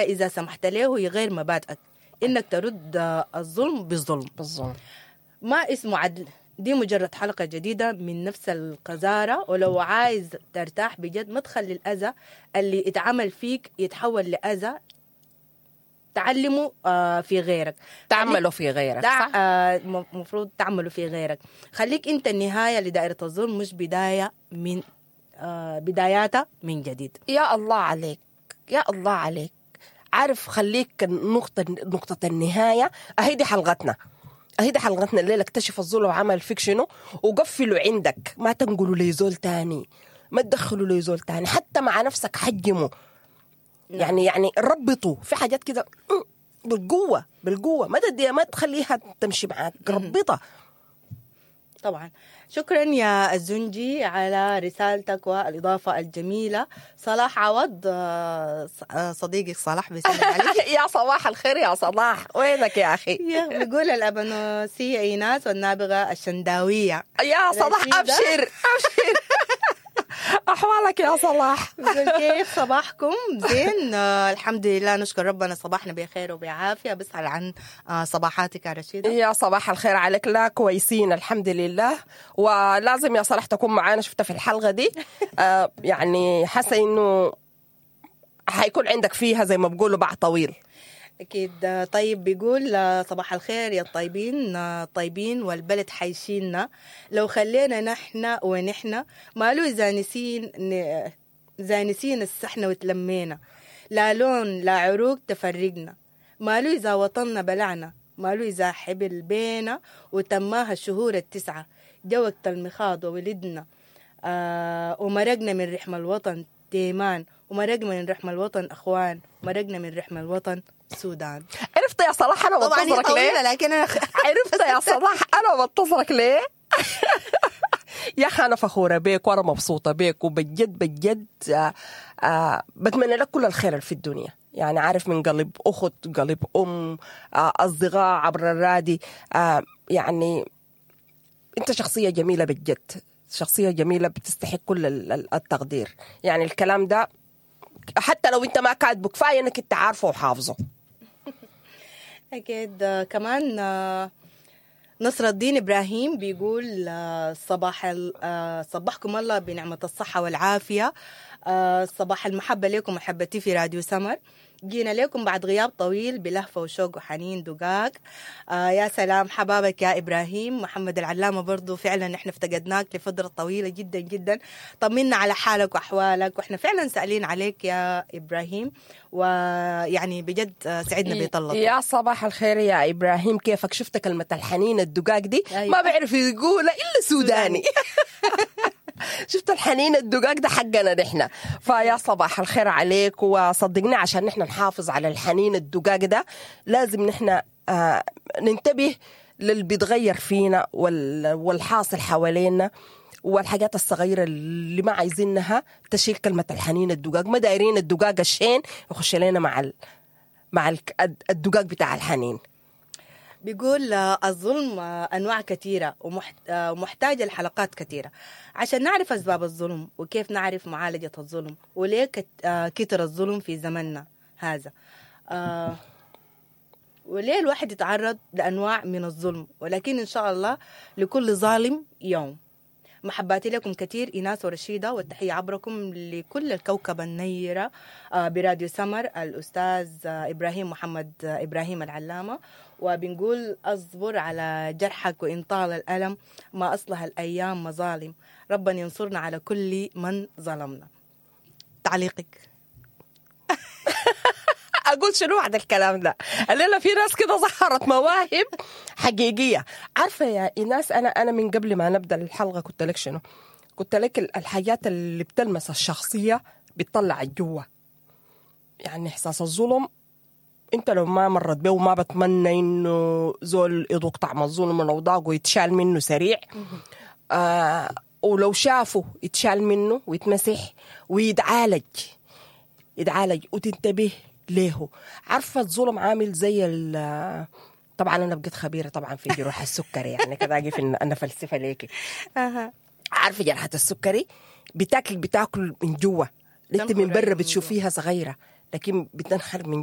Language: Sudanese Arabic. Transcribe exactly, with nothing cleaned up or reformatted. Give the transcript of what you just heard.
إذا سمحت له يغير مبادئك، إنك ترد الظلم بالظلم. بالظلم ما اسمه عدل، دي مجرد حلقة جديدة من نفس القذارة. ولو عايز ترتاح بجد، ما تخلي الأذى اللي اتعمل فيك يتحول لأذى تعلمه آه في غيرك. تعمله في غيرك. تع... صح. آه المفروض تعمله في غيرك. خليك انت النهاية لدائرة الظلم، مش بداية من آه بداياتها من جديد. يا الله عليك، يا الله عليك. عارف، خليك نقطة نقطة النهاية. أهي دي حلقتنا، أهي دي حلقتنا الليلة. اكتشف الظلم وعمل فيك شنو وقفلوا عندك، ما تنقلوا لي زول تاني، ما تدخلوا لي زول تاني، حتى مع نفسك حجموا. يعني يعني ربطوا في حاجات كده بالقوة، بالقوة، ما تديها، ما تخليها تمشي معاك، ربطها. طبعا. شكرا يا الزنجي على رسالتك والإضافة الجميلة. صلاح عوض، آه، آه، صديقك صلاح بيسلم عليك. يا صباح الخير يا صلاح، وينك يا أخي؟ يا بيقول الأبنوسية إيناس والنابغة الشنداوية. يا صلاح. رشيدة. أبشر أبشر، أحوالك يا صلاح؟ بيقول كيف صباحكم؟ زين، آه الحمد لله، نشكر ربنا، صباحنا بخير وبعافية. بسأل عن آه صباحاتك يا رشيدة. يا صباح الخير عليك. لا، كويسين الحمد لله. ولازم يا صلاح تكون معانا، شفتها في الحلقة دي، آه يعني حاسة إنه حيكون عندك فيها زي ما بقولوا باع طويل. أكيد. آه، طيب، بيقول آه، صباح الخير يا الطيبين، آه، الطيبين والبلد حيشيلنا لو خلينا نحن ونحن مالو إذا نسين ن- إذا نسينا السحنة وتلمينا، لا لون لا عروق تفرقنا، مالو إذا وطننا بلعنا، مالو إذا حبل بينا وتماها الشهور التسعة، جا وقت المخاض وولدنا آه ومرقنا من رحم الوطن تيمان، ومرقنا من رحم الوطن أخوان، مرقنا من رحم الوطن سودان. عرفت يا صلاح أنا طبعا هي بنتظرك ليه؟ طويلة لكن أنا عرفت يا صلاح أنا بنتظرك ليه؟ يا أخي أنا فخورة بيك وأنا مبسوطة بيك، وبجد بجد آه آه بتمنى لك كل الخير في الدنيا. يعني عارف، من قلب أخت، قلب أم، آه أصدقاء عبر الرادي، آه يعني أنت شخصية جميلة بجد، شخصية جميلة بتستحق كل ال- ال- التقدير. يعني الكلام ده حتى لو أنت ما كاتبه، كفاية إنك أنت عارفه وحافظه. أكيد. آه، كمان آه، نصر الدين إبراهيم بيقول آه، صباح ال- آه، صبحكم الله بنعمة الصحة والعافية، آه، صباح المحبة لكم محبتي في راديو سمر. جينا لكم بعد غياب طويل بلهفة وشوق وحنين دقاق. آه يا سلام، حبابك يا إبراهيم. محمد العلامة برضو، فعلا احنا افتقدناك لفترة طويلة جدا جدا، طمنا على حالك وأحوالك، واحنا فعلا سألين عليك يا إبراهيم، ويعني بجد آه، سعدنا بطلتك. يا صباح الخير يا ابراهيم، كيفك؟ شفت كلمة الحنين الدقاق دي؟ أيوة. ما بعرف يقولها الا سوداني. شفت الحنين الدقاق ده حقنا نحن. فيا صباح الخير عليك. وصدقني عشان نحن نحافظ على الحنين الدقاق ده لازم نحن آه ننتبه للي بيتغير فينا وال- والحاصل حوالينا والحاجات الصغيرة اللي ما عايزينها تشيل كلمة الحنين الدقاق. ما دايرين الدقاق الشين يخش لنا مع ال... مع الك- الدقاق بتاع الحنين. بيقول آه، الظلم آه، أنواع كثيرة ومحت- آه، ومحتاجة لحلقات كثيرة عشان نعرف أسباب الظلم وكيف نعرف معالجة الظلم وليه كت- آه، كتر الظلم في زمننا هذا، آه، وليه الواحد يتعرض لأنواع من الظلم، ولكن إن شاء الله لكل ظالم يوم. محباتي لكم كثير إيناس ورشيدة، والتحية عبركم لكل الكوكبة النيرة آه، براديو سمر، الأستاذ آه، إبراهيم محمد آه، إبراهيم العلامة. وبنقول أصبر على جرحك وإن طال الألم، ما أصلها الأيام مظالم، ربنا ينصرنا على كل من ظلمنا. تعليقك؟ اقول شنو بعد الكلام ده؟ الليلة في ناس كده ظهرت مواهب حقيقيه. عارفه يا ايناس، انا انا من قبل ما نبدا الحلقة قلت لك شنو؟ قلت لك ال- الحاجات اللي بتلمس الشخصية بتطلع الجوا. يعني احساس الظلم انت لو ما مرت به، وما بتمنى انه زول يذوق طعم الظلم لو ضاقه يتشال منه سريع، آه ولو شافه يتشال منه ويتمسح ويتعالج، يتعالج وتنتبه ليه. عارفه الظلم عامل زي ال طبعا انا بقيت خبيرة طبعا في جروح السكري، يعني كده اجي في انا فلسفة ليكي. عارفه جرحه السكري بتاكل بتاكل من جوا، انت من تنخر برا من بتشوفيها صغيرة. لكن بتنخر من جوا.